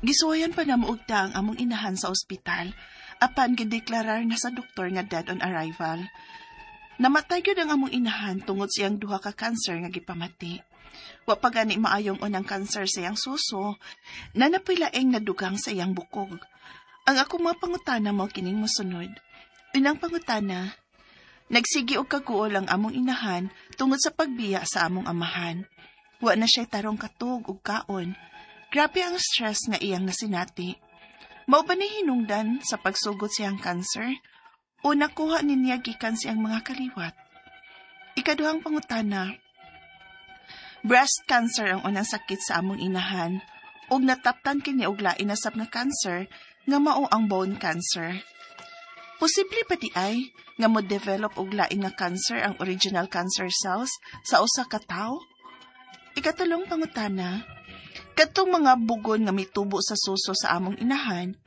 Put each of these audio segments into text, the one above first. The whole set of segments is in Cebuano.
Gisuwayan pa namo og ang among inahan sa ospital, apan gideklarar na sa doktor nga dead on arrival. Namatay gyud ang among inahan tungod sa iyang duha ka cancer nga gipamati. Wa pa gani maayong unang cancer sa iyang suso, na naa poy laing nadugang sa iyang bukog. Ang akong mga pangutana mao kining mosunod. Unang pangutana, nagsigi og kaguol ang among inahan tungod sa pagbiya sa among amahan. Wa na siya tarong katug ug kaon. Grabe ang stress nga iyang nasinati. Mao ba ni hinungdan sa pagsugot siyang cancer? O nakuha ni niya gikan siyang mga kaliwat? Ikaduhang pangutana, breast cancer ang unang sakit sa among inahan ug nataptan kini og lain na sab nga cancer nga mao ang bone cancer. Posible ba diay nga mo develop og lain nga cancer ang original cancer cells sa usa ka tawo? Ikatulong pangutana, katong mga bugon nga mitubo sa suso sa among inahan,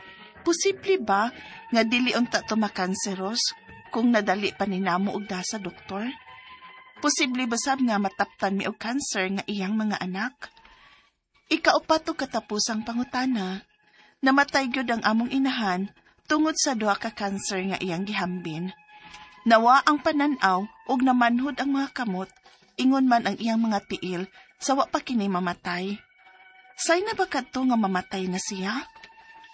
posible ba nga dili unta to makanseros kung nadali pa ni namo og da sa doktor? Posible ba sab nga mataptan mi og cancer nga iyang mga anak? Ikaupat ug katapusang pangutana, namatay gyud ang among inahan tungod sa duha ka cancer nga iyang gihambin. Nawa ang panan-aw ug namanhod ang mga kamot, ingon man ang iyang mga tiil sa wa pa kini mamatay. Say na ba kadto nga mamatay na siya?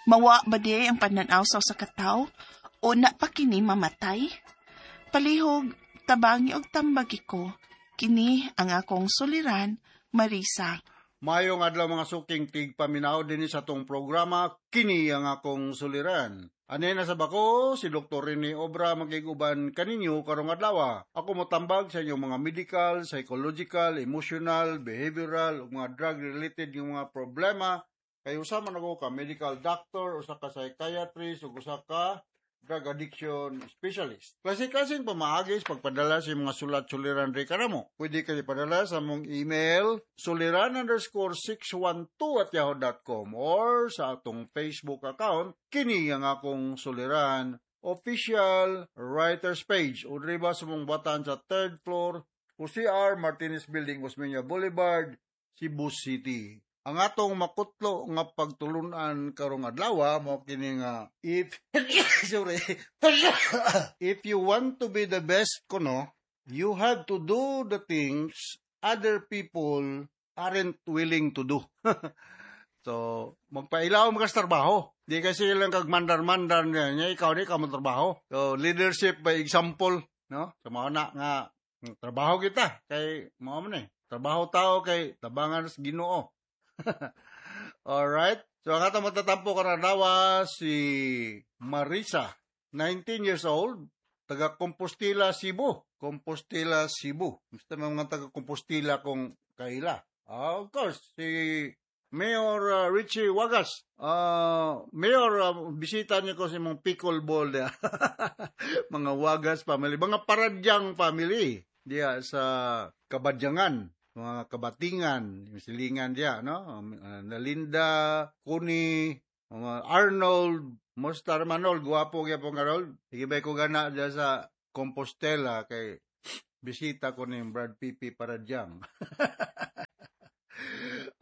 Mawa ba di ang pananaw sa usa ka tawo o na pa kini mamatay? Palihog, tabangi og tambagi ko. Kini ang akong suliran, Marisa. Maayong adlaw, mga suking tigpaminaw, dinhi sa atong programa "Kini ang Akong Suliran". Ane na sa bako si Dr. Rene Obra makig-uban kaninyo karong adlaw. Ako motambag sa inyong mga medical, psychological, emotional, behavioral ug mga drug related yung mga problema kay usa man ako ka medical doctor, usa ka psychiatrist ug usa ka drug addiction specialist. Klase-klaseng pamaagi sa pagpadala sa mga sulat suliran diri kanamo. Pwede kayo padala sa among email suliran_612@yahoo.com or sa atong Facebook account, "Kini ang Akong Suliran Official Writers Page, o diri ba sa mong batan sa third floor o CR Martinez Building, Osmeña Boulevard, Cebu City. Ang atong makutlo nga pagtulunan karong adlaw mao kini nga if, sorry, if you want to be the best kuno, you have to do the things other people aren't willing to do. So, magpailawom ka sa trabaho. Di kasi lang kag mandar-mandar niya, niya ikaw di ka mo trabaho. So, leadership by example, no? So, mao na nga trabaho kita kay mao man eh. Trabaho tao kay tabangan sa Ginoo. Alright. So, ang atong matatampo karong adlaw si Marisa, 19 years old, taga Compostela, Cebu. Compostela, Cebu. Basta mga taga Compostela kong kaila. Of course, si Mayor Richie Wagas. Mayor, bisita niyo ko sa imong pickleball diya. Mga Wagas family, mga Paradyang family diya sa Kabadyangan, mga Kabatingan, yung silingan diya, no? Nalinda, Kuni, mga Arnold, Mostar Manol, guwapo gyapon Arnold. Sige ba ko gana diya sa Compostela kay bisita ko ni Brad Pipi Paradyang.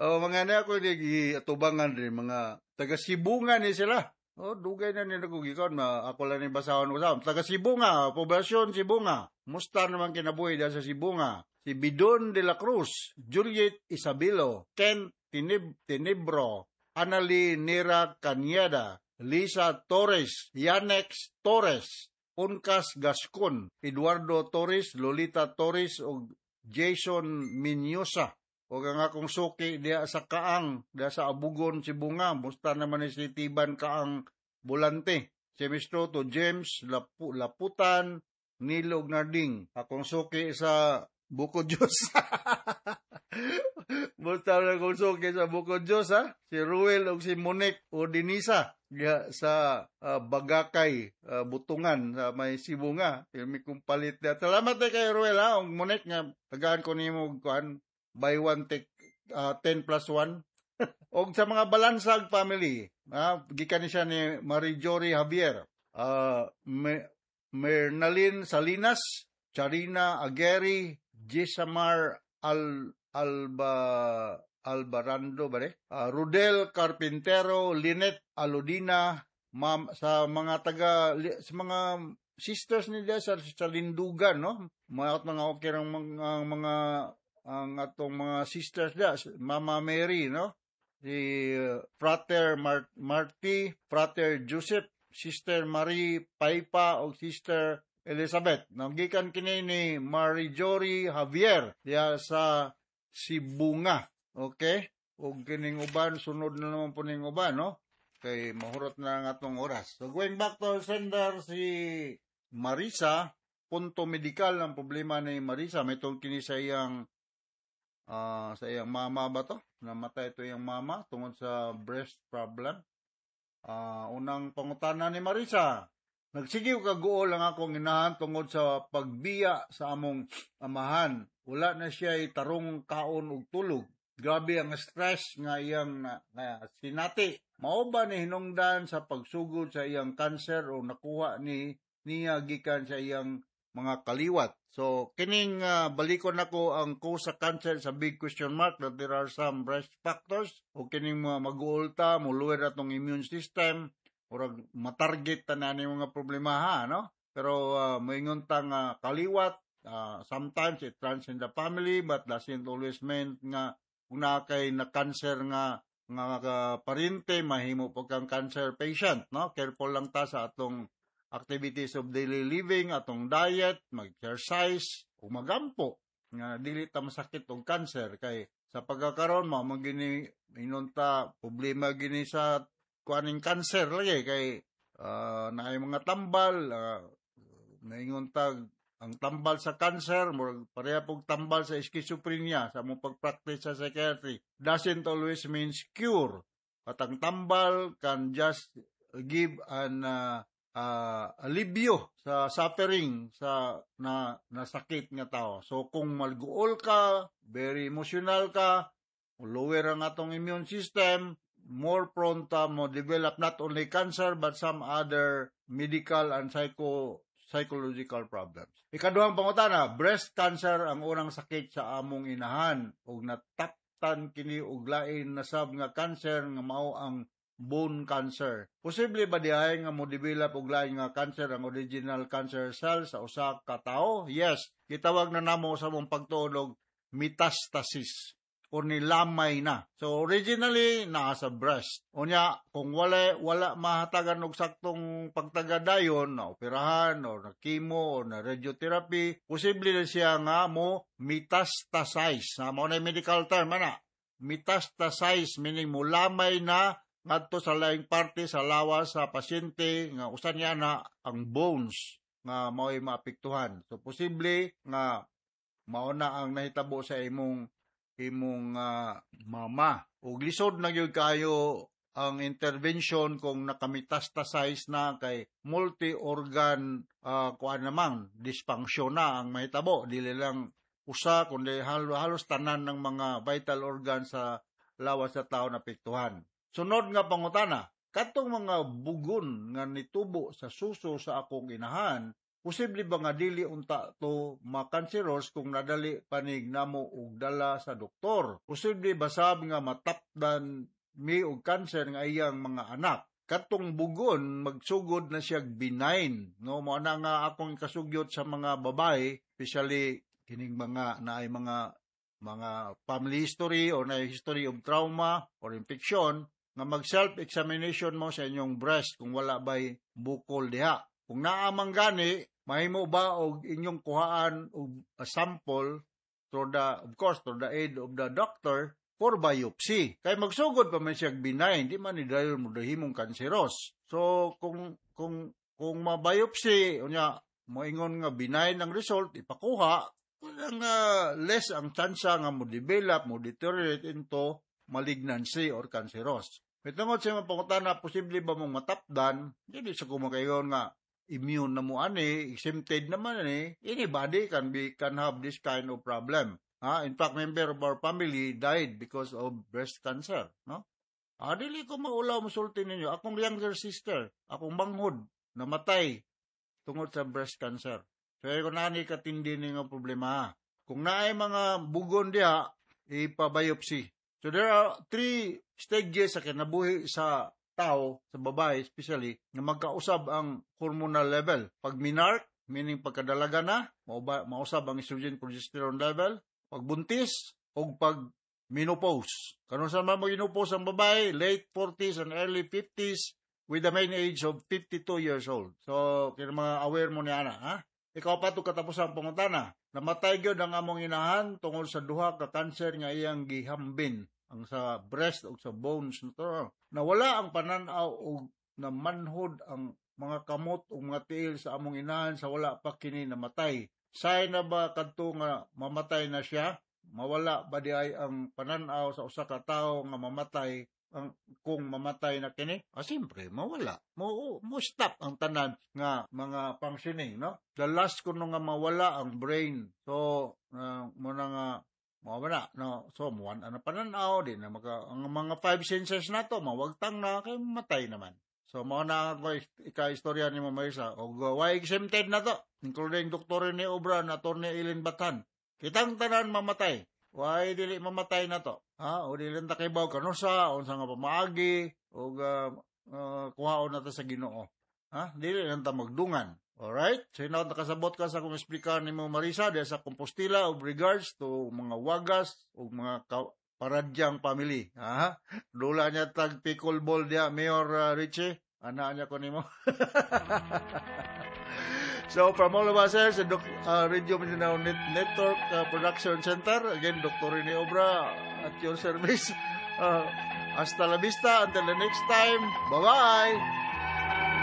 Oh, mga na ako di atubangan rin mga taga Sibunga ni sila. Oh, dugay na nila ko gikan ma ako lang ni basahon ko sa taga Sibunga, poblasyon Sibunga. Musta naman kinabuhi diya sa Sibunga? Si Bidon de la Cruz, Juliet Isabelo, Ken Tinibro, Anali Nira Canyada, Lisa Torres, Yanex Torres, Uncas Gascon, Eduardo Torres, Lolita Torres ug Jason Minyosa. O ang akong suki diya sa Kaang, diya sa Abugon, Sibunga, musta naman ni si Tiban Kaang Bulante. Si Mr. to James Laputan, Nilo Narding. Akong suki sa Buko Diyos. Musta na akong suki sa Buko Diyos, ha? Si Ruel o si Monique o Denisa diya sa Bagakay, Butungan, sa may Sibunga. Ilmi kong palit diya. Salamat kay Ruel, ha? Og Monique nga, tagaan ko nimo kuan, buy one take 10 plus 1. Og sa mga Balansag family, ha, gikan ni siya ni Marie Javier, Mernalin Salinas, Charina Aguerri, Jisamar Alba Albarando ba re? Rodel Carpintero, Lynette Aludina, ma'am, sa mga taga sa mga sisters nila sa Lindugan, no? Mga okay ang mga ang atong mga sisters dia, Mama Mary, no? Si Frater Marty, Frater Joseph, Sister Marie Paipa o Sister Elizabeth. Gikan kini ni Marjorie Javier diya sa Sibunga. Okay? Ug kining uban, sunod na naman po ning uban, no? Kay mahurot na ang atong oras. So going back to our sender, si Marisa, punto medikal ang problema ni Marisa. May tungod kini sa iyang mama ba to? Namatay ito iyang mama tungod sa breast problem. Unang pangutana ni Marisa, "Nagsige og kaguol ang akong inahan tungod sa pagbiya sa among amahan. Wala na siya tarong kaon ug tulog. Grabe ang stress nga iyang na sinati. Mao ba ni hinungdan sa pagsugod sa iyang cancer o nakuha ni niya gikan sa iyang mga kaliwat?" So kining balikon nako ang cause sa cancer sa big question mark that there are some risk factors o kining mga mag-uol ta, mo-lower atong immune system, murag matarget ta na ni mga problema ha, no? Pero moingon ta nga kaliwat, sometimes it runs in the family but doesn't always mean nga kung naa kay na cancer nga parente, mahimo po kang cancer patient, no? Careful lang ta sa atong activities of daily living, atong diet, mag-exercise, o magampo nga dili ta masakit og cancer kay sa pagkakaron mao man gini inunta problema gini sa kuaning cancer lagi kay naay mga tambal, maingon tag ang tambal sa cancer murag pareha pog tambal sa schizophrenia sa among pag-practice sa psychiatry, doesn't always means cure, at ang tambal can just give an alibyo sa suffering sa na nasakit nga tao. So kung malguol ka, very emotional ka, lower ang atong immune system, more prone ta mo develop not only cancer but some other medical and psychological problems. Ikaduhang pangutana, breast cancer ang unang sakit sa among inahan ug nataptan kini og lain na sab nga cancer nga mao ang bone cancer. Posible ba diay nga mo develop og lain nga cancer ang original cancer cell sa usa ka tawo? Yes, gitawag na namo sa among pagtuon og metastasis o nilamay na. So originally naa sa breast. Unya kung wala mahatagan og saktong pagtagadayon, na operahan o na chemo o na radiotherapy, posible na siya nga mo metastasize. Na mao na medical term ana. Metastasize meaning mulamay na ngadto sa laing parte sa lawas sa pasyente nga usa niya na ang bones nga mao'y maapektuhan. So posible nga mao na ang nahitabo sa imong mama. Ug lisod na gyud kayo ang intervention kung nakametastasize na kay multi-organ kuan naman dysfunction na ang mahitabo, dili lang usa kundi halos tanan ng mga vital organ sa lawas sa tao naapektuhan. Sunod nga pangutana, katong mga bugon nga nitubo sa suso sa akong inahan, posible ba nga dili unta to makanseros kung nadali panig namo og dala sa doktor? Posible ba sab nga matapdan mi og cancer nga iyang mga anak? Katong bugon magsugod na siya benign, no? Mo na nga akong kasugyot sa mga babae, especially kining mga naay mga family history or na history of trauma or infection, nga mag self-examination mo sa inyong breast kung wala ba'y bukol diha. Kung naa man gani, mahimo ba og inyong kuhaan og a sample through the, of course, through the aid of the doctor for biopsy? Kay magsugod pa man siya benign, di man ni dayon mo himong cancerous. So kung ma-biopsy unya moingon nga benign ang result, ipakuha ang less ang tsansa nga mo develop, mo deteriorate into malignancy or cancerous. May tungod sa mga pangutana, posible ba mong matapdan? Hindi sa kumakayon nga immune na mo ani, exempted naman ani, anybody can have this kind of problem. Ha? In fact, member of our family died because of breast cancer, no? Ah, dili ko maulaw musulti ninyo. Akong younger sister, akong manghod, namatay tungod sa breast cancer. So, kung nani katindi ni nga problema. Kung naay mga bugon diha, ipa-biopsy. So there are three stages sa kinabuhi sa tao, sa babae especially, nga magkausab ang hormonal level. Pag menarche, meaning pagkadalaga na, mausab ang estrogen progesterone level. Pag buntis, o pag menopause. Kanus-a man mag-menopause ang babae? Late 40s and early 50s with the main age of 52 years old. So, kaya mga aware mo niya na, ha? Ikaw pa to katapos ang pangutana. Namatay gyud ang among inahan tungod sa duha ka cancer nga iyang gihambin, ang sa breast o sa bones na. Nawala ang panan-aw og namanhod ang mga kamot ug mga tiil sa among inahan sa wala pa kini namatay. Sign na ba kadto nga mamatay na siya? Mawala ba di ay ang panan-aw sa usa ka tawo nga mamatay ang kung mamatay na kini? Ah, siyempre, mawala. Mo stop ang tanan nga mga functioning, no? The last kuno nga mawala ang brain. So, mo na nga mawala, no? So, muwan ang pananaw, di na maka, ang mga five senses nato, mawagtang na, kay matay naman. So, mao na ako ika-istorya ni Ma'am Marisa. O, why exempted na to? Including Dr. Rene Obra na Atty. Eileen Batan. Kitang tanan mamatay. Why dili mamatay na to? Ha? O dili ta kibaw kanusa, unsa nga pamaagi, o kuhaon na ta sa Ginoo. Ha? Dili lang ta magdungan. Alright? So, hinaot nakasabot ka sa akong explicar ni mo, Marisa, diya sa Compostela, of regards to mga Wagas o mga Paradyang family. Ha? Dula niya tag pickleball diya, Mayor Richie. Ana niya ko nimo. So, from all of us here sa Radio Mindanao Network Production Center, again, Dr. Rene Obra at your service. Hasta la vista. Until the next time. Bye-bye.